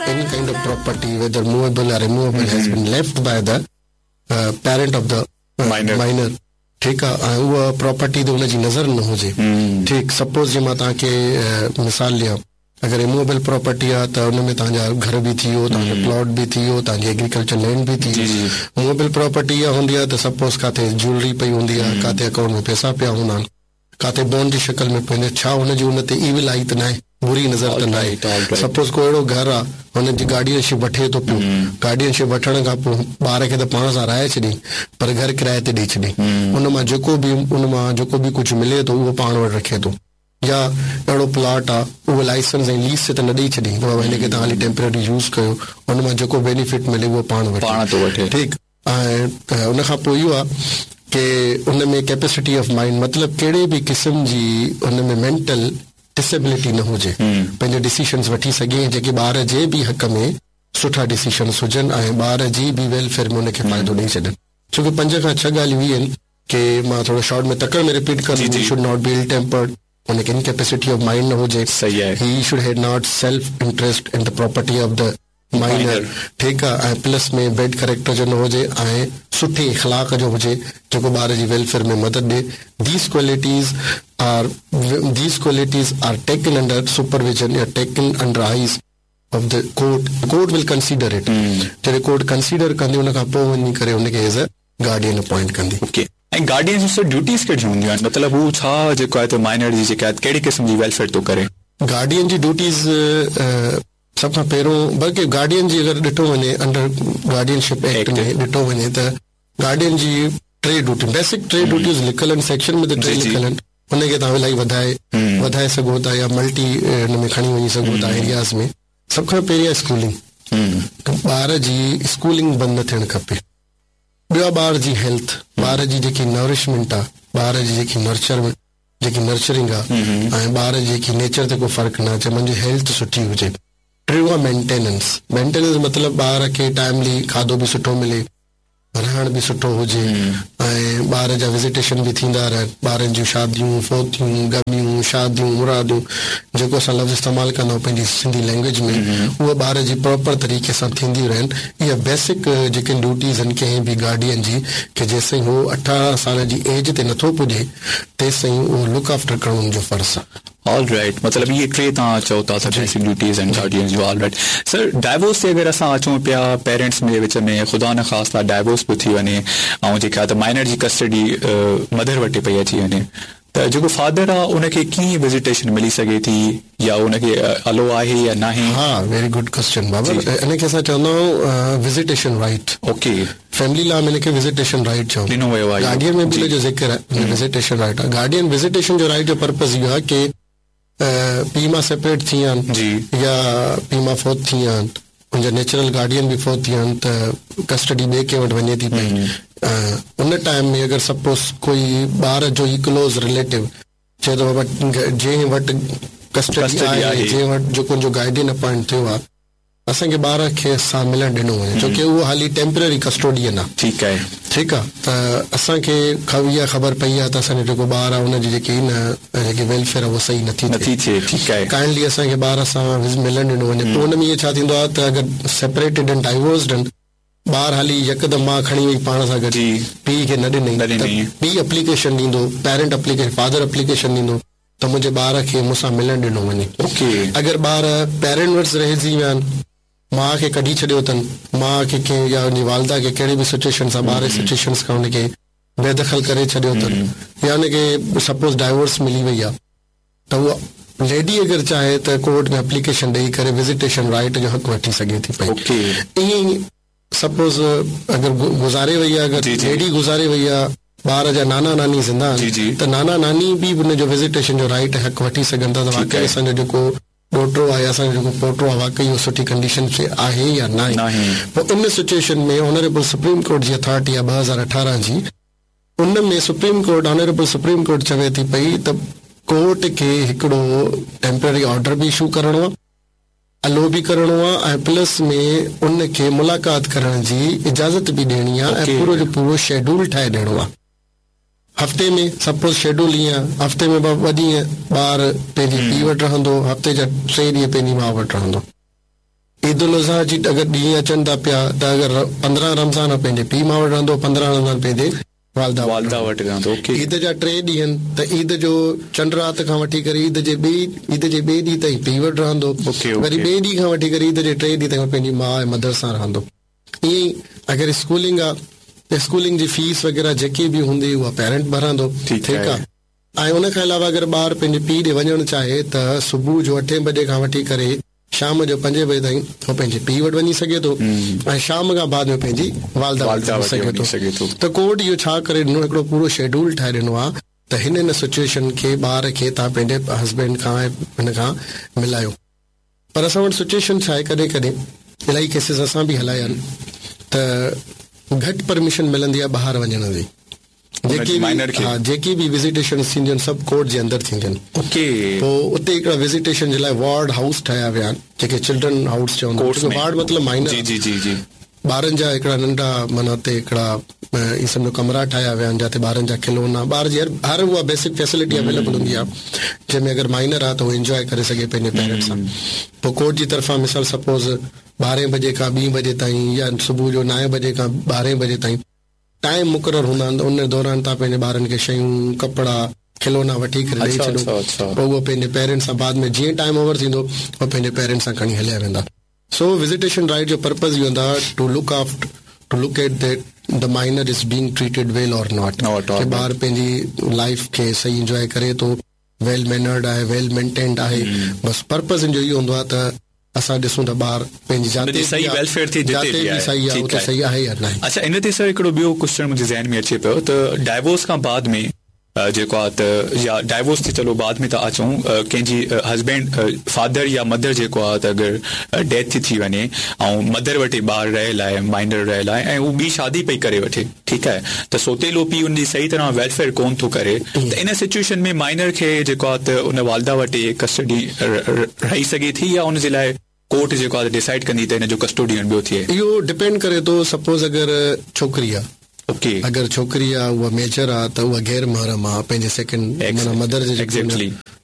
Any kind of property whether movable or immovable has been left by the parent of the minor ٺيڪ آ ۽ اها property تي ان جي نظر نه هجي ٺيڪ سپوز جي مان توهان کي مثال ڏيان اگر اموويبل پراپرٽي آ ته ان ۾ توهان جا گهر به ٿي ويو توهان جو پلاٽ به ٿي ويو توهان جي ايگريڪلچر لينڊ به ٿي ويو موويبل پراپرٽي اها هوندي آ ته سپوز ڪاٿي جيولري پئي هوندي آ ڪاٿي اڪائونٽ ۾ پئسا پيا هوندا آهن ڪاٿي بانڊ جي شڪل ۾ پوندي ڇا هن جي ان تي ايول آئي ته ناهي، بري نظر ته ناهي. سپوز ڪو اهڙو گهر آ، هن جي گارڊين شپ وٺي ٿو پيو، گارڊين شپ وٺڻ کان پوء ٻار کي ته پاڻ سان رهائي ڇڏيائين پر گهر ڪرائي تي ڏئي ڇڏيائين. ان مان جيڪو به ان مان جيڪو به ڪجهه ملي ٿو اهو پاڻ وٽ رکي ٿو. يا اهڙو پلاٽ آ، اهو لائسنس ۽ ليز تي ته نه ڏئي ڇڏيائين ته بابا هن کي توهان هلي ٽيمپرري يوز ڪيو، ان مان جيڪو بينيفٽ ملي اهو پاڻ وٺي. ٺيڪ. ۽ ان کان پوء اهو آهي ڪي ان ۾ ڪيپيسٽي آف مائنڊ مطلب ڪهڙي به قسم جي ان ۾ مينٽل ڊسيبلٽي نه هجي پنهنجا ڊسيشنز وٺي سگهي ۽ جيڪي ٻار جي به حق ۾ سٺا ڊسيشنز هجن ۽ ٻار جي به ويلفيئر ۾ ان کي فائدو ڏئي ڇڏن ڇو ڪي پنج کان ڇهه ڳالهيون اهي آهن ڪي مان ٿورو شارٽ ۾ تڪڙ ۾ رپيٽ ڪندم he should not be ill tempered ان کي انڪيپيسٽي آف مائنڊ نه هجي he should have not self interest in the property of the minor ٺيڪ آ ۽ پلس ۾ بيڊ ڪريڪٽر جو نه هجي ۽ سٺي اخلاق جو هجي جيڪو ٻار جي ويلفيئر ۾ مدد ڏي these qualities are these qualities are taken under supervision يا taken under eyes of the court court will consider it جڏهن ڪورٽ ڪنسيڊر ڪندي ان کان پوء وڃي ڪري ان کي ايز اي گارڊين اپوائنٽ ڪندي. اوڪي ۽ گارڊين جون سر ڊيوٽيز ڪهڙيون هونديون آهن مطلب هو ڇا جيڪو آهي ته مائنر جي جيڪا آهي ڪهڙي قسم جي ويلفيئر ٿو ڪري. گارڊين جي ڊيوٽيز سڀ کان پهريون بلڪه گارڊين جي اگر ڏٺو وڃي انڊر گارڊين شپ ايڪٽ ۾ ڏٺو وڃي ته گارڊين جي ٽي ڊيوٽيون بيسڪ ٽي ڊيوٽيز لکيل آهن سيڪشن ۾ ته ٽي لکيل آهن ان کي توهان الاهي وڌائي وڌائي سگهو ٿا يا ملٽي ان ۾ کڻي وڃي سگهو ٿا ايرياز ۾ سڀ کان پهرين آهي اسڪولنگ ته ٻار جي اسڪولنگ بند نه ٿيڻ کپي ٻيو آهي ٻار جي هيلٿ ٻار جي جيڪي نورشمينٽ آهي ٻار جي جيڪي نرچر جيڪي نرچرنگ آ ۽ ٻار جي جيڪي نيچر تي ڪو فرق نه اچي منهنجي هيلٿ سٺي هجي. ٽيون آ مينٽيننس مينٽيننس مطلب ٻار کي ٽائملي کاڌو به سٺو ملي رهڻ به سٺو هجي ۽ ٻار جا وزيٽيشن به ٿيندا رهن ٻارن جون شاديون فوتيون غميون شاديون مراديون جيڪو اسان لفظ استعمال ڪندا آهيون پنهنجي سنڌي لينگويج ۾ اهي ٻار جي پراپر طريقي سان ٿينديون رهن اها بيسڪ جيڪي ڊيوٽيز آهن ڪنهن به گارڊين جي ڪي جيسين هو 18 سال جي ايج تي نٿو پڄي تيسين اهو لڪ آفٽر ڪرڻ ان جو فرض آهي. آل رائيٽ مطلب اهي ٽي توهان چئو ٿا ته بيسڪ ڊيوٽيز آهن گارڊينز جون آل رائيٽ سر ڊائيورس تي اگر اسان اچون پيا پيرنٽس ۾ وچ ۾ خدا نخواسته ڊائيورس به ٿي وڃي ۽ جيڪا ته مائنر جي ڪسٽڊي مدر وٽ پئي اچي وڃي ته جيڪو فادر آ ان کي ڪيئن وزيٽيشن ملي سگهي ٿي يا ان کي الو آهي يا ناهي. ها ويري گڊ ڪوسچن بابر ان کي اسان چوندا آهيون visitation right. Okay. Family law ۾ ان کي وزيٽيشن رائيٽ چون. ڏنو ويو آهي. گارڊين ۾ به ان جو ذڪر آهي وزيٽيشن رائيٽ آهي. گارڊين وزيٽيشن جو رائيٽ جو پرپز اهو آهي ڪي پيء ماء سيپريٽ ٿي ويا آهن يا پيء ماء فوت ٿي ويا آهن ان جا نيچرل گارڊين به فوت ٿي ويا آهن ته ڪسٽڊي ٻئي ڪنهن وٽ وڃي ٿي پئي ان ٽائيم ۾ اگر سپوز ڪوئي ٻار جو ئي ڪلوز رليٽو چئي ٿو بابا جنهن وٽ ڪسٽڊي آهي جنهن وٽ جيڪو ان جو گارڊين اپائنٽ ٿيو آهي اسان کي ٻار کي سان ملڻ ڏنو وڃي ڇو ڪي اهو حالي ٽيمپرري ڪسٽوڊين آ. ٺيڪ آهي. ٺيڪ آ ته اسان کي اها خبر پئي آ ته اسان جو جيڪو ٻار آ ان جي جيڪي نه جيڪي ويلفيئر آ اها صحيح نٿي ٿئي. نٿي ٿئي ٺيڪ آهي. ڪائنڊلي اسان کي ٻار سان ملڻ ڏنو وڃي پوء ان ۾ اهو ڇا ٿيندو آ ته اگر سيپريٽيڊ آهن ڊائيورسڊ آهن ٻار حالي يڪدم ماء کڻي وئي پاڻ سان گڏ پيء کي نه ڏنئي ته پيء اپليڪيشن ڏيندو پيرنٽ اپليڪيشن فادر اپليڪيشن ڏيندو ته منهنجي ٻار کي مون سان ملڻ ڏنو وڃي. اگر ٻار پيرنٽ وٽ رهجي ويا آهن، ماء کي ڪڍي ڇڏيو اٿن، ماء کي ڪنهن يا ان جي والده کي ڪهڙي به سچوئيشن سان ٻار جي سچوئيشنس کان ان کي بي دخل ڪري ڇڏيو اٿن يا ان کي سپوز ڊائيورس ملي وئي آهي ته اها ليڊي اگر چاهي ته ڪورٽ ۾ اپليڪيشن ڏئي ڪري وزيٽيشن رائيٽ جو حق وٺي سگهي ٿي پئي. ائين ئي سپوز اگر گذاري وئي آ اگر ليڊي گذاري وئي آ ٻار جا نانا ناني زنده آهن ته نانا ناني به ان جو وزيٽيشن جو رائيٽ حق وٺي سگهن ٿا ته واقعي اسان جو جيڪو ڏوهٽو آ يا اسان جو جيڪو پوٽو آ واقعي اهو سٺي ڪنڊيشن ۾ آهي يا ناهي پوء ان سچوئيشن ۾ آنريبل سپريم ڪورٽ جي اٿارٽي آ 2018 جي ان ۾ supreme court honourable supreme court چوي ٿي پئي ته ڪورٽ کي هڪڙو ٽيمپرري آرڊر به اشو ڪرڻو آ الو به ڪرڻو آ ۽ پلس ۾ ان کي ملاقات ڪرڻ جي اجازت به ڏيڻي آ ۽ پورو جو پورو شيڊول ٺاهي ڏيڻو آ. هفتي ۾ سپوز شيڊول ائين آ هفتي ۾ ٻه ڏينهن ٻار پنهنجي پيء وٽ رهندو هفتي جا ٽي ڏينهن پنهنجي ماء وٽ رهندو. عيد الاضحيٰ جي اگر ڏينهن اچن ٿا پيا ته اگر 15 رمضان پنهنجي پيء ماء وٽ رهندو 15 رمضان پنهنجي والده وٽ رهندو. عيد جا 3 ڏينهن ته عيد جو چنڊ رات کان وٺي ڪري عيد جي ٻئي عيد جي ٻئي ڏينهن تائين پيء وٽ رهندو وري ٻئي ڏينهن کان وٺي ڪري عيد جي ٽئين ڏينهن تائين پنهنجي ماء ۽ مدر سان رهندو. ائين ئي اگر اسڪولنگ آ ته اسڪولنگ جي فيس وغيره جيڪي به هوندي اها پيرنٽ ڀرندو. ٺيڪ آ. ۽ ان کان علاوه اگر ٻار پنهنجي پيء ڏي وڃڻ چاهي ته صبح جو اٺين بجي کان وٺي ڪري شام جو پنجين بجي تائين هو پنهنجي پيء وٽ وڃي سگهي ٿو ۽ شام کان بعد ۾ پنهنجي والده وٽ وڃي سگهي ٿو ته ڪورٽ اهو ڇا ڪري ڏنو هڪڙو پورو شيڊول ٺاهي ڏنو آهي ته هن هن سچوئيشن کي ٻار کي توهان پنهنجي هسبينڊ کان ۽ هن کان ملايو پر اسان وٽ سچوئيشن ڇا آهي ڪڏهن ڪڏهن الاهي ڪيسز اسان به هلايا آهن ته گهٽ پرميشن ملندي آهي ٻاهر وڃڻ جي جيڪي به ها جيڪي به وزيٽيشنز ٿينديون آهن سڀ ڪورٽ جي اندر ٿينديون آهن. اوڪي. پوء اتي هڪڙا وزيٽيشن جي لاء وارڊ هائوس ٺاهيا ويا آهن جيڪي چلڊرن هائوس چوندا آهن ڇو وارڊ مطلب مائنر جي جي جي جي ٻارن جا هڪڙا ننڍا معنيٰ اتي هڪڙا ائين سمجهو ڪمرا ٺاهيا ويا آهن جاتي ٻارن جا کلونا ٻار جي هر هر اها بيسڪ فيسلٽي اويليبل هوندي آهي جنهن ۾ اگر مائنر آهي ته هو انجواء ڪري سگهي پنهنجي پيرنٽس سان پوء ڪورٽ جي طرفان مثال سپوز ٻارهين بجي کان ٻين بجي تائين يا صبح جو نائين بجي کان ٻارهين بجي تائين ٽائيم مقرر هوندا آهن ته ان دوران توهان پنهنجي ٻارن کي شيون، ڪپڙا، کلونا وٺي ڪري ڏئي ڇڏو پوء اهو پنهنجي پيرنٽس سان بعد ۾ جيئن ٽائيم اوور ٿيندو اهو پنهنجي پيرنٽس سان کڻي هليا ويندا. سو وزيٽيشن رائيٽ جو پرپز اهو هوندو آهي to look after to look at that the minor is being treated well or not ڪي ٻار پنهنجي لائيف کي صحيح انجواء ڪري ٿو. ويل مينرڊ آهي ويل مينٽينڊ آهي بس پرپز ان جو اهو هوندو آهي ته اسان ڏسون ته ٻار پنهنجي جاتي صحيح ويلفيئر ٿئي جتي به صحيح آهي اتي صحيح آهي يا ناهي. اڇا ان تي سر هڪڙو ٻيو ڪوسچن منهنجي ذهن ۾ اچي پيو ته ڊائيورس کان بعد ۾ جيڪو آهي ته يا ڊائيورس تي چلو بعد ۾ ٿا اچون ڪنهن جي هسبينڊ فادر يا مدر جيڪو آهي ته اگر ڊيٿ ٿي ٿي وڃي ۽ مدر وٽ ئي ٻار رهيل آهي مائنر رهيل آهي ۽ هو ٻي شادي پئي ڪري وٺي ٺيڪ آهي ته سوتيلو پيء ان جي صحيح طرح ويلفيئر ڪون ٿو ڪري ته ان سچوئيشن ۾ مائنر کي جيڪو آهي ته ان والده وٽ ئي ڪسٽڊي رهي سگهي ٿي يا ان جي لاء ڪورٽ جيڪو آهي ڊيسائيڊ ڪندي ته ان جو ڪسٽوڊين ٻيو ٿئي. اهو ڊپينڊ ڪري ٿو سپوز اگر ڇوڪري آهي اوڪي اگر ڇوڪري آهي اها ميجر آهي ته اها غير محرم آهي پنهنجي سيڪنڊ معنيٰ مدر جي جيڪو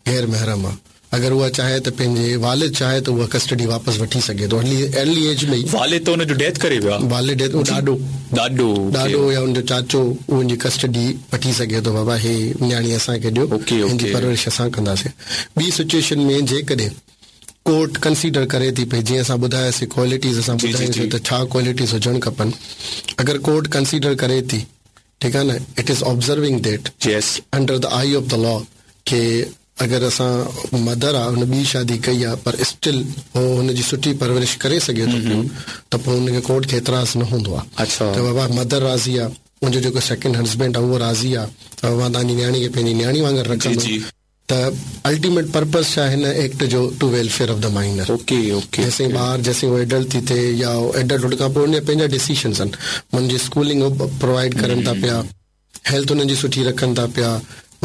غير محرم آهي اگر اها چاهي ته پنهنجي والد چاهي ته اها ڪسٽڊي واپس وٺي سگهي ٿو ارلي ارلي ايج ۾ ئي. والد ته ان جو ڊيٿ ڪري ويو آهي. والد ڊيٿ اهو ڏاڏو. ڏاڏو اوڪي. ڏاڏو يا ان جو چاچو اهو ان جي ڪسٽڊي وٺي سگهي ٿو بابا هي نياڻي اسان کي ڏيو اوڪي هن جي اوڪي. پرورش اسان ڪنداسين. ٻي سچوئيشن ۾ جيڪڏهن ڪورٽ ڪنسيڊر ڪري ٿي پئي جيئن اسان ٻڌاياسين ڪوالٽيز اسان جي جي ٻڌايون جي. سين ته ڇا ڪوالٽيز هجڻ کپن اگر ڪورٽ ڪنسيڊر ڪري ٿي ٺيڪ آهي نه it is observing that yes. Under the eye of the law ڪي اگر اسان مدر آ ان ٻي شادي ڪئي آ پر اسٽل هو هن جي سٺي پرورش ڪري سگهي ٿو پيو ته پوء ان کي ڪورٽ کي اعتراض نه هوندو آ ته بابا مدر راضي آ منهنجو جيڪو سيڪنڊ هسبينڊ آ اهو راضي آ ته مان توهان جي نياڻي کي پنهنجي نياڻي وانگر رکندم ته الٽيميٽ پرپز ڇا هن ايڪٽ جو to welfare of the minor okay okay جيسين ٻار جيسين هو ايڊلٽ ٿي ٿئي يا ايڊلٽ هن کان پوء ان جا پنهنجا ڊسيشنز آهن هن جي اسڪولنگ هو پرووائيڊ ڪرن ٿا پيا هيلٿ انهن جي سٺي رکن ٿا پيا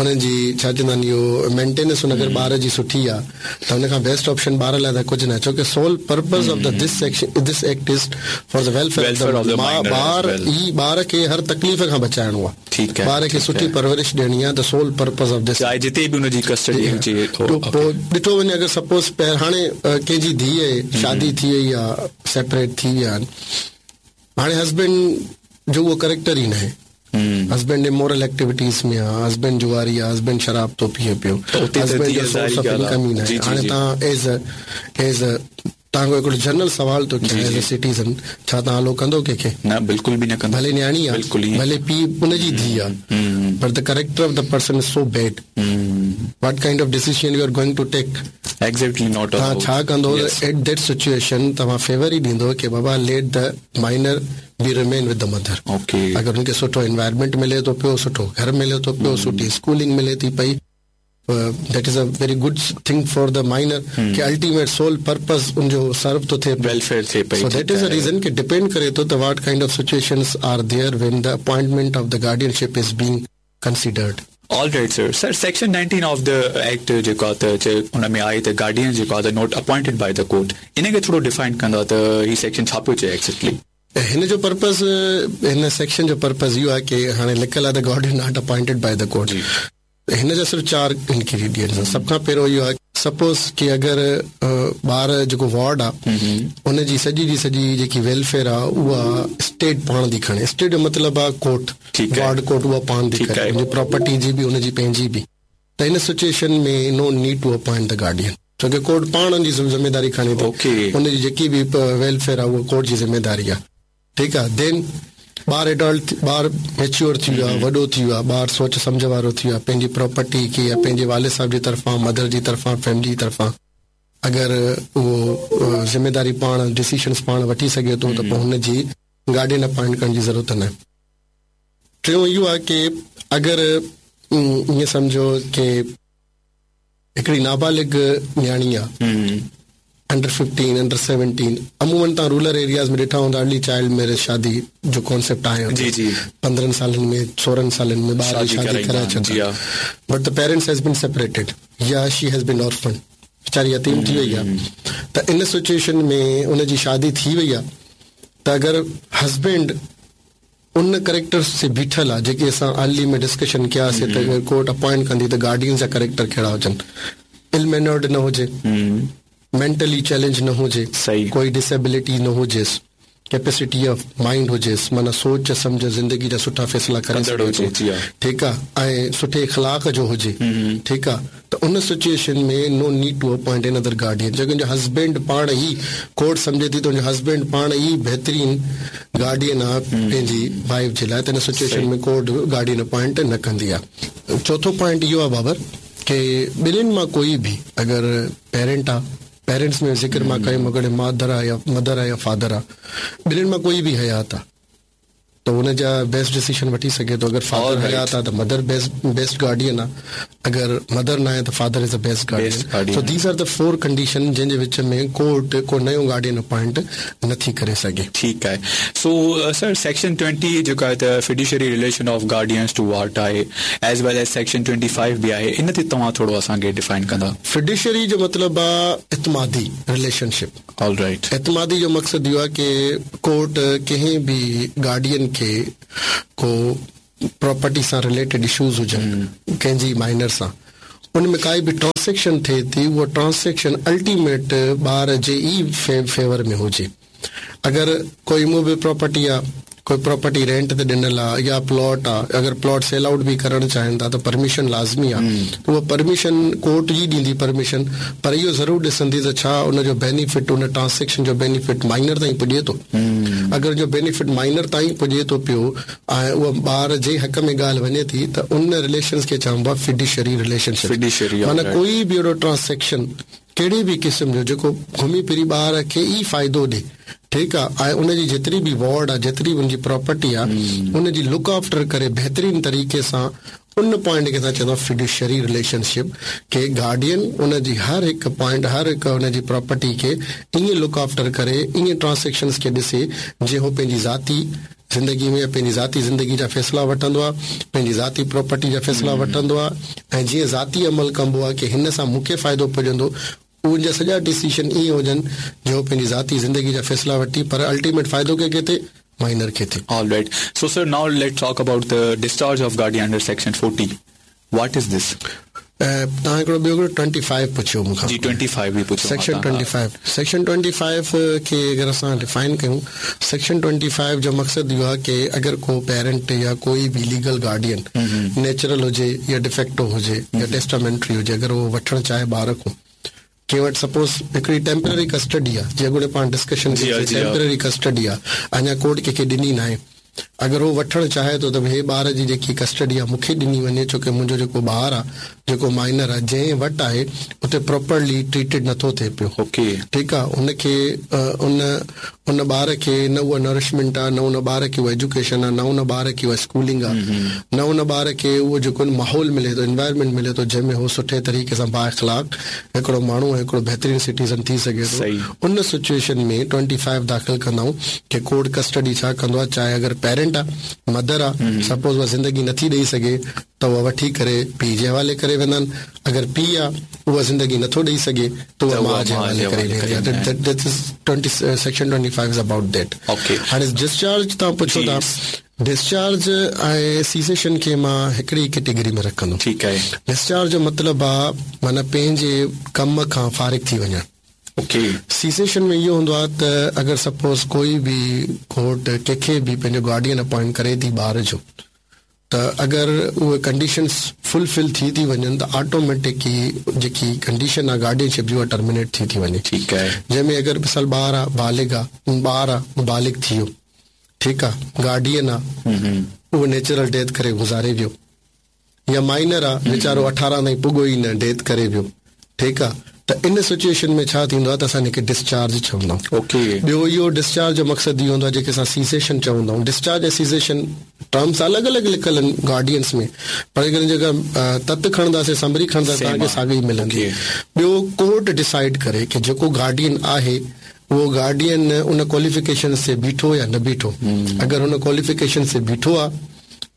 انهن جي ڇا چوندا آهن اهو مينٽيننس ان اگر ٻار جي سٺي آ ته ان کان بيسٽ آپشن ٻار لاء ته ڪجهه ناهي ڇو ڪي sole purpose of the this section this act is for the welfare of the ٻار ئي ٻار کي هر تڪليف کان بچائڻو آ ٻار کي سٺي پرورش ڏيڻي آ ته سول پرپز آف this چاهي جتي به ان جي ڪسٽڊي هجي پوء ڏٺو وڃي اگر سپوز هاڻي ڪنهن جي ڌيء شادي ٿي وئي آ سيپريٽ ٿي ويا آهن هاڻي هسبينڊ جو اهو ڪريڪٽر ئي ناهي. هسبينڊ امورل ايڪٽيوٽيز ۾ آ، هسبينڊ جواري آ، هسبينڊ شراب ٿو پيئي پيو، هسبينڊ جو سورس آف انڪم ئي ناهي. هاڻي توهان ايز اي ايز اي توهان کان هڪڙو جنرل سوال ٿو ڪيان ايز اي سٽيزن ڇا توهان الو ڪندو ڪنهن کي؟ نه بلڪل به نه ڪندو. ڀلي نياڻي آ، ڀلي پيء ان جي ڌيء آ، پر the character of the person is so bad. What kind of decision you are going to take? Exactly not توهان ڇا ڪندو ايٽ that situation توهان فيور ئي ڏيندو ڪي بابا let the minor be remain with the mother okay اگر ان کي سٺو انوائرمينٽ ملي ٿو پيو سٺو گهر ملي ٿو پيو سٺي اسڪولنگ ملي ٿي پئي that is a very good thing for the minor K ultimate civil purpose ان جو سرو ٿو ٿئي ويلفيئر ٿئي پئي سو that is a reason K depend ڪري ٿو ته what kind of situations are there when the appointment of the guardianship is being considered. All right sir sir section 19 of the act جيڪو آ ته چي ان ۾ آهي ته گارڊين جيڪو آ ته not appointed by the court ان کي ٿورو ڊفائن ڪندا ته هي سيڪشن ڇا پيو چئي ايگزيڪٽلي. هن جو پرپز هن سيڪشن جو پرپز اهو آهي ڪي هاڻي لکيل آهي ته guardian not appointed by the court هن جا صرف چار انگريڊينٽس آهن. سڀ کان پهريون اهو آهي سپوز ڪي اگر ٻار جيڪو وارڊ آهي ان جي سڄي جي سڄي جيڪي ويلفيئر آهي اها اسٽيٽ پاڻ ٿي کڻي. اسٽيٽ جو مطلب آهي ڪورٽ، وارڊ ڪورٽ اها پاڻ ٿي ڪري، ان جي پراپرٽي جي به ان جي پنهنجي به. ته ان situation ۾ no need to appoint the guardian ڇو ڪي ڪورٽ پاڻ ان جي ذميداري کڻي ٿي ان جي جيڪي به ويلفيئر آهي اها ڪورٽ جي ذميداري آهي. ٺيڪ آ دين ٻار ايڊلٽ ٻار ميچيور ٿي ويو آ وڏو ٿي ويو آ ٻار سوچ سمجهه وارو ٿي ويو آ پنهنجي پراپرٽي کي يا پنهنجي والد صاحب جي طرفان مدر جي طرفان فيملي جي طرفان اگر اهو ذميداري پاڻ ڊسيشنس پاڻ وٺي سگهي ٿو ته پوء هن جي گارڊين اپائنٽ ڪرڻ جي ضرورت نه ٽيون اهو آ ڪي اگر ائين سمجهو ڪي هڪڙي نابالغ نياڻي آ انڊر 15 انڊر 17 عمومن توهان رورل ايرياز ۾ ڏٺا هوندا ارلي چائلڊ ميرج شادي جو ڪانسيپٽ آهي جي جي 15 سالن ۾ 16 سالن ۾ ٻار جي شادي ڪرائي ڇڏندا but the parents has been separated يا شي هيز بين اورفن ويچاري يتيم ٿي وئي آ ته ان سچويشن ۾ ان جي شادي ٿي وئي آ ته اگر هسبينڊ ان ڪريڪٽرس تي بيٺل آ جيڪي اسان ارلي ۾ ڊسڪشن ڪيا سي ته اگر ڪورٽ اپوائنٽ ڪندي ته گارڊينز جا ڪريڪٽر ڪهڙا هجن ال مينرڊ نه هجي مينٽلي چئلينج نه هجي ڪوئي ڊسيبلٽي نه هجيس ڪيپيسٽي آف مائنڊ هجيس معنيٰ سوچ سمجهه زندگي جا سٺا فيصلا ڪري سگهي ٿو ٺيڪ آ ۽ سٺي اخلاق جو هجي ٺيڪ آ ته ان situation ۾ no need to appoint another guardian جيڪو ان جو هسبينڊ پاڻ ئي ڪورٽ سمجهي ٿي ته ان جو هسبينڊ پاڻ ئي بهترين گارڊين آ پنهنجي وائيف جي لاء ته ان سچويشن ۾ ڪورٽ گارڊين اپوائنٽ نه ڪندي آ. چوٿون پوائنٽ اهو آ بابر ڪي ٻنهين مان ڪوئي به اگر پيرنٽ آ پيرنٽس ۾ ذڪر مان ڪيم اگر مادر آ يا مدر آ يا فادر آ ٻنهين مان ڪوئي به حيات آ ته ان جا بيسٽ ڊسيشن وٺي سگهي ٿو اگر فادر حيات آ ته مدر بيسٽ گارڊين آ اگر مدر ناهي ته father is the best guardian so these are the four condition جنهن جي وچ ۾ ڪورٽ ڪو نيو گارڊين اپوائنٽ نٿي ڪري سگهي. ٺيڪ آهي سو سر سيڪشن 20 جيڪو آهي ته fiduciary relation of guardians to ward آهي ايز ويل ايز سيڪشن 25 به آهي ان تي توهان ٿورو اسان کي ڊفائن ڪندا. فڊيشري جو مطلب آ اعتمادي رليشن شپ. All right. اعتمادي جو مقصد اهو آهي ڪي ڪورٽ ڪنهن به گارڊين کي ڪو پراپرٽي سان رليٽيڊ اشوز هجن ڪنهن جي مائنر سان ان ۾ ڪائي به ٽرانسيڪشن ٿئي ٿي اها ٽرانسيڪشن الٽيميٽ ٻار جي ئي فيور ۾ هجي اگر ڪو اموويبل پراپرٽي آ ڪوئي پراپرٽي رينٽ تي ڏنل آ يا پلاٽ آ اگر پلاٽ سيل آئوٽ به ڪرڻ چاهين ٿا ته پرميشن لازمي آ ته اها پرميشن ڪورٽ ئي ڏيندي پرميشن پر اهو ضرور ڏسندي ته ڇا ان جو بينيفٽ ان ٽرانسيڪشن جو بينيفٽ مائنر تائين پڄي ٿو اگر ان جو بينيفٽ مائنر تائين پڄي ٿو پيو ۽ اها ٻار جي حق ۾ ڳالهه وڃي ٿي ته ان رليشنس کي چئبو آ فڊيشري رليشن شپ معنيٰ ڪوئي به اهڙو ٽرانسيڪشن ڪهڙي به قسم جو جيڪو گهمي ڦري ٻار کي ئي فائدو ڏي ٺيڪ آ ۽ ان جي جيتري به وارڊ آ جيتري به ان جي پراپرٽي آ ان جي لڪ آفٽر ڪري بهترين طريقي سان ان پوائنٽ کي اسان چوندا فڊيوشري رليشن شپ ڪي گارڊين ان جي هر هڪ پوائنٽ هر هڪ ان جي پراپرٽي کي ائين لڪ آفٽر ڪري ائين ٽرانسيڪشنس کي ڏسي جيئن هو پنهنجي ذاتي زندگي ۾ پنهنجي ذاتي زندگي جا فيصلا وٺندو آ پنهنجي ذاتي پراپرٽي جا فيصلا وٺندو آ ۽ جيئن ذاتي عمل ڪبو آ ڪي هن سان مون کي فائدو پڄندو ان جا سڄا ڊسيشن ائين هجن جو هو پنهنجي ذاتي زندگي جا فيصلا وٺي پر الٽيميٽ فائدو ڪنهن کي ٿئي مائنر کي ٿئي. All right so sir now let's talk about the discharge of guardian under section 40 what is this. توهان هڪڙو ٻيو هڪڙو ٽوئنٽي فائيو پڇيو مون کان جي ٽوئنٽي فائيو به پڇيو section twenty five section twenty five کي اگر اسان ڊفائن ڪيون سيڪشن ٽوئنٽي فائيو جو مقصد اهو آهي ڪي اگر ڪو پيرنٽ يا ڪوئي به ليگل گارڊين نيچرل هجي يا ڊفيڪٽو هجي يا ٽيسٽامينٽري هجي اگر اهو وٺڻ چاهي ٻار کان ڪنهن وٽ سپوز هڪڙي ٽيمپرري ڪسٽڊي آهي جيئن اڳوڻي پاڻ ڊسڪشن ڪئي سي ٽيمپرري ڪسٽڊي آهي اڃا ڪورٽ ڪنهن کي ڏني ناهي اگر هو وٺڻ چاهي ٿو ته هي ٻار جي جيڪي ڪسٽڊي آهي مون کي ڏني وڃي ڇو ڪي منهنجو جيڪو ٻار آهي جيڪو مائنر آهي جنهن وٽ آهي اتي پراپرلي ٽريٽيڊ نٿو ٿئي پيو ٺيڪ آهي ان کي ان ان ٻار کي نه اها نرشمينٽ آهي نه ان ٻار کي اها ايجوڪيشن آهي نه ان ٻار کي اها اسڪولنگ آهي نه ان ٻار کي اهو جيڪو ماحول ملي ٿو انوائرمينٽ ملي ٿو جنهن ۾ هو سٺي طريقي سان بااخلاق هڪڙو ماڻهو ۽ هڪڙو بهترين سٽيزن ٿي سگهي ٿو ان سچوئيشن ۾ ٽوئنٽي فائيو داخل ڪندا آهيون ڪي ڪورٽ ڪسٽڊي ڇا ڪندو آهي چاهي اگر پيرنٽ آهي مدر آهي سپوز اها زندگي نٿي ڏئي سگهي ته اها وٺي ڪري پيء جي حوالي ڪري ويندا آهن اگر پيء آهي اها زندگي نٿو ڏئي سگهي ته اها ماء جي حوالي ڪري ويندي آهي that is twenty section twenty five is about that هاڻي ڊسچارج توهان پڇو ٿا. ڊسچارج ۽ سيسيشن کي مان هڪڙي ئي ڪيٽيگري ۾ رکندم. ٺيڪ آهي. ڊسچارج جو مطلب آ معنيٰ پنهنجي ڪم کان فارغ ٿي وڃڻ. اوڪي. سيسيشن ۾ اهو هوندو آ ته اگر سپوز ڪوئي به ڪورٽ ڪنهن کي به پنهنجو گارڊين اپوائنٽ ڪري ٿي ٻار جو ته اگر اهي ڪنڊيشنز فل فل ٿي ٿي وڃن ته آٽوميٽڪ ئي جيڪي ڪنڊيشن آ گارڊين شپ جي اها ٽرمينيٽ ٿي ٿي وڃي. ٺيڪ آهي. جنهن ۾ اگر مثال ٻار آ بالغ آ ٻار آ بالغ ٿي ويو ٺيڪ آ گارڊين آ اهو نيچرل ڊيٿ ڪري گذاري ويو يا مائنر آ ويچارو 18 تائين پڳو ئي نه ڊيٿ ڪري ويو ٺيڪ آ ته ان سچوئيشن ۾ ڇا ٿيندو آ ته اسان ان کي ڊسچارج چوندا آهيون. اوڪي. ٻيو اهو ڊسچارج جو مقصد اهو هوندو آ جيڪي اسان سيسيشن چوندا آهيون ڊسچارج ۽ سيسيشن ٽرمس الڳ الڳ لکيل آهن گارڊينس ۾ پر جيڪڏهن جيڪا تت کڻنداسين سمري کڻنداسين توهان کي ساڳي ئي ملندي. ٻيو ڪورٽ ڊسائيڊ ڪري ڪي جيڪو گارڊين آهي اهو گارڊين ان ڪواليفڪيشنز تي بيٺو يا نه بيٺو. اگر ان ڪواليفڪيشنز تي بيٺو آ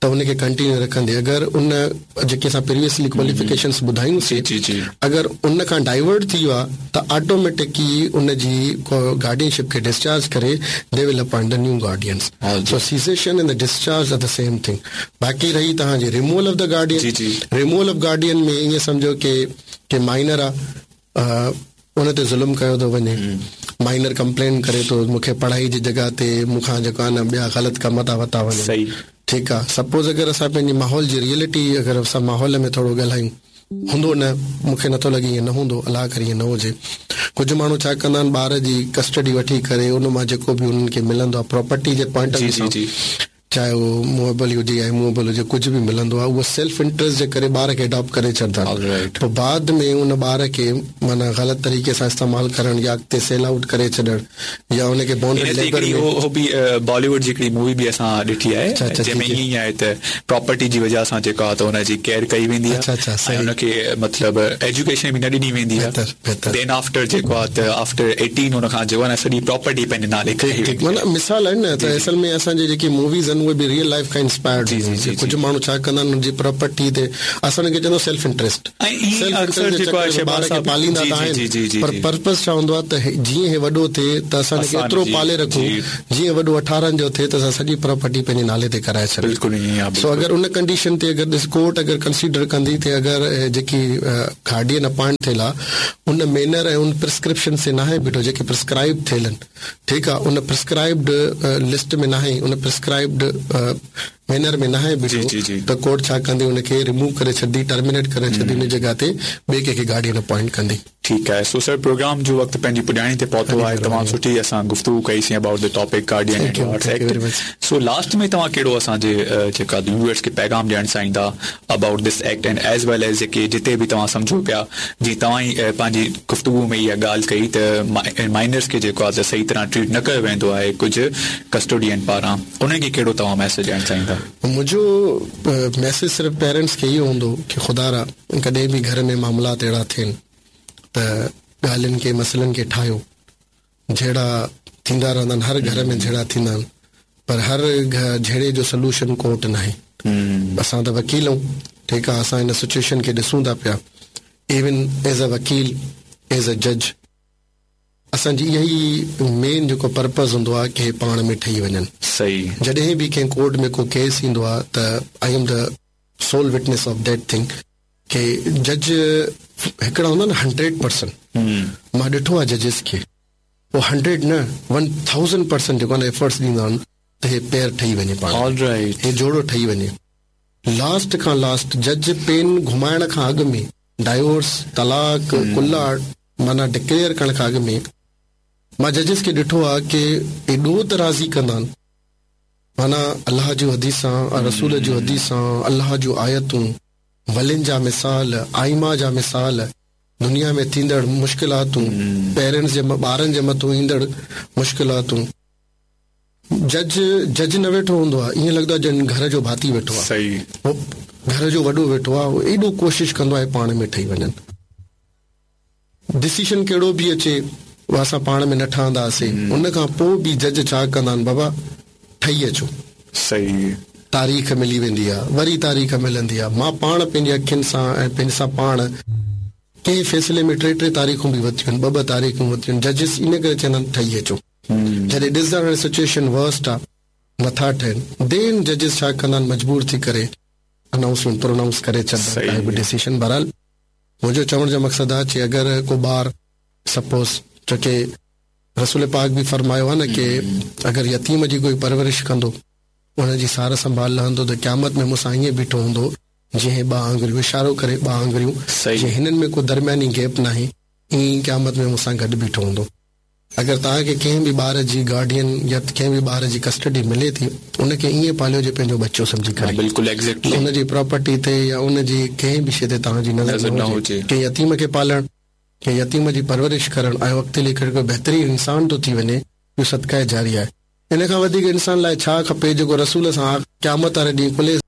ته ان کي ڪنٽينيو رکندي اگر ان جيڪي اسان پريويسلي ڪواليفڪيشنز ٻڌايون سي اگر ان کان ڊائيورٽ ٿي ويو آ ته آٽوميٽڪ ئي ان جي گارڊين شپ کي ڊسچارج ڪري the will appoint the new guardians so cessation and the discharge are the same thing باقي رهي توهان جي removal of the guardian removal of guardian ۾ ائين سمجهو ڪي ڪي مائنر آ ان تي ظلم ڪيو ٿو وڃي مائنر ڪمپلين ڪري ٿو مون کي پڙهائي جي جڳهه تي مون کان جيڪو آهي نه ٻيا غلط ڪم ٿا وتا وڃن ٺيڪ آ سپوز اگر اسان پنهنجي ماحول جي ريئلٽي اگر اسان ماحول ۾ ٿورو ڳالهايون هوندو نه مون کي نٿو لڳي ائين نه هوندو الله ڪري ائين نه هجي ڪجهه ماڻهو ڇا ڪندا آهن ٻار جي ڪسٽڊي وٺي ڪري ان مان جيڪو به انهن کي ملندو آهي پراپرٽي جي پوائنٽ آف ويو سان چاهي اهو موويبل هجي يا اموويبل هجي ڪجهه به ملندو آهي اهو سيلف انٽريسٽ جي ڪري ٻار کي اڊاپٽ ڪري ڇڏندا آهن پوء بعد ۾ ان ٻار کي معنيٰ غلط طريقي سان استعمال ڪرڻ يا اڳتي سيل آئوٽ ڪري ڇڏڻ يا ان کي بانڊڊ ليبر ۾. اهو به بالي ووڊ جي هڪڙي مووي به اسان ڏٺي آهي جنهن ۾ ائين ئي آهي ته پراپرٽي جي وجهه سان جيڪو آهي ته ان جي ڪيئر ڪئي ويندي آهي ۽ ان کي مطلب ايجوڪيشن به نه ڏني ويندي آهي دين آفٽر جيڪو آهي ته آفٽر ايٽين ان کان جيڪو آهي نه سڄي پراپرٽي پنهنجي نالي ڪئي ويندي آهي. معنيٰ مثال آهن نه ته اصل ۾ اسان جي جيڪي موويز آهن اهي به ريئل لائيف کان انسپائرڊ هونديون آهن ڪجهه ماڻهو ڇا ڪندا آهن ان جي پراپرٽي تي اسان ان کي چوندا سيلف انٽريسٽ سيلف انٽريسٽ جي چڪر ۾ ٻار کي پاليندا ته آهن پر پرپز ڇا هوندو آهي ته جيئن هي وڏو ٿئي ته اسان ان کي ايترو پالي رکون جيئن وڏو 18 جو ٿئي ته اسان سڄي پراپرٽي پنهنجي نالي تي ڪرائي ڇڏيون سو اگر ان ڪنڊيشن تي اگر ڏس ڪورٽ اگر ڪنسيڊر ڪندي ته اگر جيڪي گارڊين اپائنٽ ٿيل آهي ان مينر ۽ ان پرسڪرپشن تي ناهي بيٺو جيڪي پرسڪرائب ٿيل آهن ٺيڪ آ ان پرسڪرائبڊ لسٽ ۾ ناهي ان پرسڪرائبڊ مينر ۾ ناهي بيٺو ته ڪورٽ ڇا ڪندي ان کي ريموو ڪري ڇڏندي ٽرمينيٽ ڪري ڇڏندي ان جڳهه تي ٻئي ڪنهن کي گارڊين اپوائنٽ ڪندي. ٺيڪ آهي سو سر پروگرام جو وقت پنهنجي پڄاڻي تي پهتو آهي تمام سٺي اسان گفتگو ڪئي سين about the topic guardian and wards act so last ۾ توهان ڪهڙو اسان جي جيڪا ويوئرس کي پيغام ڏيڻ چاهيندا about this act and as well as جيڪي جتي به توهان سمجهو پيا جيئن توهان ئي پنهنجي گفتگو ۾ اها ڳالهه ڪئي ته مائنرز کي جيڪو آهي ته صحيح طرح ٽريٽ نه ڪيو ويندو آهي ڪجهه ڪسٽوڊين پاران انهن کي ڪهڙو توهان ميسيج ڏيڻ چاهيندا؟ منهنجو ميسيج صرف پيرنٽس کي اهو هوندو ڪي خدارا ڪڏهن به گهر ۾ معاملات اهڙا ٿين ته ڳالهين کي مسئلن کي ٺاهيو جهيڙا ٿيندا رهندا آهن هر گهر ۾ جهيڙا ٿيندا آهن پر هر جهيڙي جو سلوشن ڪورٽ ناهي اسان ته وڪيل آهيون ٺيڪ آهي اسان ان سچويشن کي ڏسون ٿا پيا ايون ايز ا وڪيل ايز ا جج اسان جي اها ئي مين جيڪو پرپز هوندو آهي ڪي پاڻ ۾ ٺهي وڃن. صحيح. جڏهن به ڪنهن ڪورٽ ۾ ڪو ڪيس ايندو آهي ته I am the sole witness of that thing ڪي جج هڪڙا هوندا آهن 100% مان ڏٺو آهي ججز کي اهو 100 نه 1000% جيڪو آهي نه ايفرٽس ڏيندا آهن ته هي پيئر ٺهي وڃي پاڻ ۾ هي جوڙو ٺهي وڃي لاسٽ کان لاسٽ جج پين گهمائڻ کان اڳ ۾ ڊائيورس، طلاق، خلع معنيٰ ڊڪليئر ڪرڻ کان اڳ ۾ مان ججز کي ڏٺو آهي ڪي ايڏو ته راضي ڪندا آهن معنيٰ الله جون حديثان، رسول جون حديثان، الله جون آيتون، ولين جا مثال، ائمه جا مثال، دنيا ۾ ٿيندڙ مشڪلاتون، پيرنٽس جي ٻارن جي مٿون ايندڙ مشڪلاتون. جج جج نه ويٺو هوندو آهي ائين لڳندو آهي ڄڻ گهر جو ڀاتي ويٺو آهي. صحيح. هو گهر جو وڏو ويٺو آهي هو ايڏو ڪوشش ڪندو آهي پاڻ ۾ ٺهي وڃن. ڊسيشن ڪهڙو به اچي اها اسان پاڻ ۾ نه ٺهنداسين ان کان پوء به جج ڇا ڪندا آهن بابا ٺهي اچو. صحيح. تاريخ ملي ويندي آهي وري تاريخ ملندي آهي مان پاڻ پنهنجي اکين سان ۽ پنهنجي سان پاڻ ڪنهن فيصلي ۾ ٽي ٽي تاريخون به ورتيون آهن ٻه ٻه تاريخون ورتيون آهن ججز ان ڪري چوندا آهن ٺهي اچو. جڏهن ڏسندا آهن سچوئيشن ورسٽ آ نٿا ٺهن دين ججز ڇا ڪندا آهن مجبور ٿي ڪري انائونسمينٽ پرونائونس ڪري ڇڏندا آهن ڪائي به ڊسيشن بهرحال منهنجو چوڻ جو مقصد آهي چي اگر ڪو ٻار سپوز ڇوڪه رسول پاڪ به فرمايو آهي نه ڪي اگر يتيم جي ڪوئي پرورش ڪندو ان جي سار سنڀال لهندو ته قيامت ۾ مون سان ائين بيٺو هوندو جيئن هي ٻه آڱريون اشارو ڪري ٻه آڱريون جيئن هنن ۾ ڪو درمياني گيپ ناهي ائين ئي قيامت ۾ مون سان گڏ بيٺو هوندو. اگر توهان کي ڪنهن به ٻار جي گارڊين يا ڪنهن به ٻار جي ڪسٽڊي ملي ٿي ان کي ائين پاليو جي پنهنجو ٻچو سمجهي ڪري. بلڪل ايگزيڪٽلي. ان جي پراپرٽي تي يا ان جي ڪنهن به شي تي توهان جي نظر نه هجي. ڪنهن يتيم کي پالڻ، ڪنهن يتيم جي پرورش ڪرڻ ۽ اڳتي هلي ڪري ڪو بهترين انسان ٿو ٿي وڃي اهو صدقه جاريه آهي. ان کان وڌيڪ انسان لاء ڇا کپي جيڪو رسول سان قيامت واري ڏينهن ڪلهي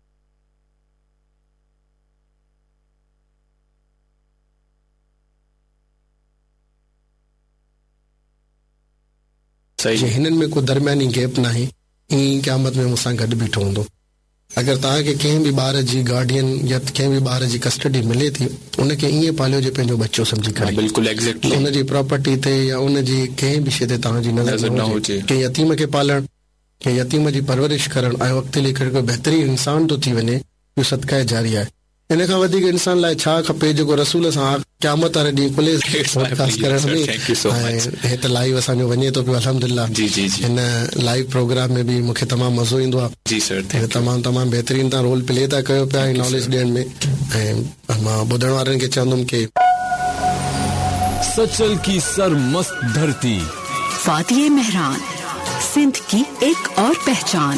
جي هنن ۾ ڪو درمياني گيپ ناهي ائين ئي قيامت ۾ مون سان گڏ بيٺو هوندو. اگر توهان کي ڪنهن به ٻار جي گارڊين يا ڪنهن به ٻار جي ڪسٽڊي ملي ٿي ان کي ائين پاليو جي پنهنجو ٻچو سمجهي ڪري. بلڪل ايگزيڪٽلي. ان جي پراپرٽي تي يا ان جي ڪنهن به شي تي توهان جي نظر نه هجي. ڪنهن يتيم کي پالڻ، ڪنهن يتيم جي پرورش ڪرڻ ۽ اڳتي هلي ڪري ڪو بهترين انسان ٿو ٿي وڃي اهو صدقه جاريه آهي. ان کان وڌيڪ انسان لاء ڇا کپي جيڪو رسول سان قيامت واري ڏينهن ڪلهي پوڊڪاسٽ ڪرڻ ۾ ۽ هي ته لائيو اسان جو وڃي ٿو پيو الحمدلله هن لائيو پروگرام ۾ به مونکي تمام مزو ايندو آهي جي سر thank you تمام تمام بهترين تان رول پلي ٿا ڪيو پيا ۽ ناليج ڏيڻ ۾ ۽ مان ٻڌڻ وارن کي چوندم ڪي سچل ڪي سرمست ڌرتي. وادي مهراڻ سنڌ ڪي ايڪ اور پهچان.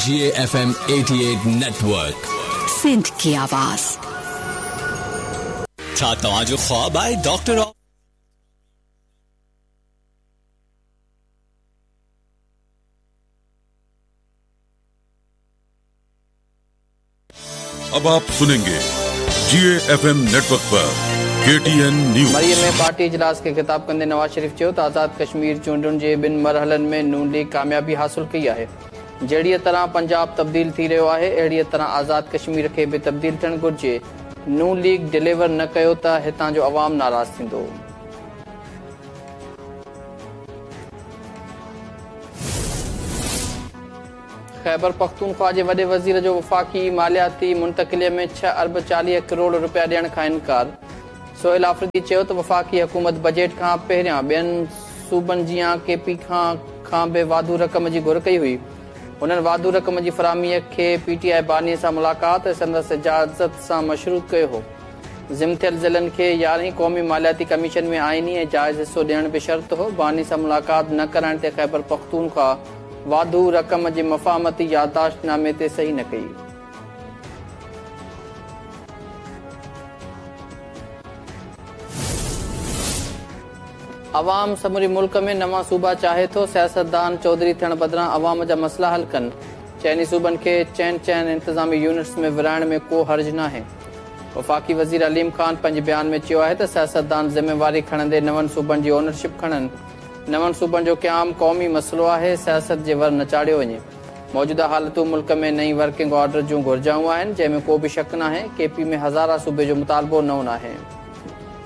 G E F M 88 network. Sindh ڪي آواز. ڇا توهان جو خواب آهي ڊاڪٽر. اب آپ سنينگي جي E F M net work پر ڪي ٽي اين نيوز. مريء ۾ پارٽي اجلاس کي خطاب ڪندي نواز شريف چيو ته آزاد ڪشمير چونڊن جي ٻن مرحلن ۾ نون ليگ ڪاميابي حاصل ڪئي آهي، جهڙيء طرح پنجاب تبديل ٿي رهيو آهي اهڙيء طرح آزاد ڪشمير کي به تبديل ٿيڻ گهرجي، نون ليگ ڊليور نه ڪيو ته هتان جو عوام ناراض ٿيندو. خيبرپختونخوا جي وڏي وزير جو وفاقي مالياتي منتقلي ۾ ڇهه ارب 40 ڪروڙ رپيا ڏيڻ کان انڪار، سهيل آفريدي چيو ته وفاقي حڪومت بجيٽ کان پهريان ٻين صوبن جيان ڪي پي کان به واڌو رقم جي گهر ڪئي هئي، هنن واڌو رقم جي فراهمي کي پي ٽي آء باني سان ملاقات ۽ سندس اجازت سان مشروط ڪيو هو. ضم ٿيل ضلعن کي يارهين قومي مالياتي ڪميشن ۾ آئيني ۽ جائز حصو ڏيڻ به شرط هو، باني سان ملاقات نه ڪرائڻ تي خيبرپختونخوا واڌو رقم جي مفاهمتي يادداشت نامي تي صحيح نه ڪئي. عوام سموري ملڪ ۾ نوان صوبا چاهي ٿو، سياستدان چوڌري ٿيڻ بدران عوام جا مسئلا حل ڪن، چئني صوبن کي چئن چئن انتظامي يونٽس ۾ ورهائڻ ۾ ڪو حرج ناهي. وفاقي وزير عليم خان پنهنجي بيان ۾ چيو آهي ته سياستدان ذميواري کڻندي نون صوبن جي اونرشپ کڻن، نون صوبن جو قيام قومي مسئلو آهي، سياست جي ور نه چاڙهيو وڃي. موجوده حالتون ملڪ ۾ نئين ورڪنگ آرڊر جون گهرجائون آهن، جنهن ۾ ڪو به شڪ ناهي، ڪي پي ۾ هزاره صوبي جو مطالبو نئون ناهي.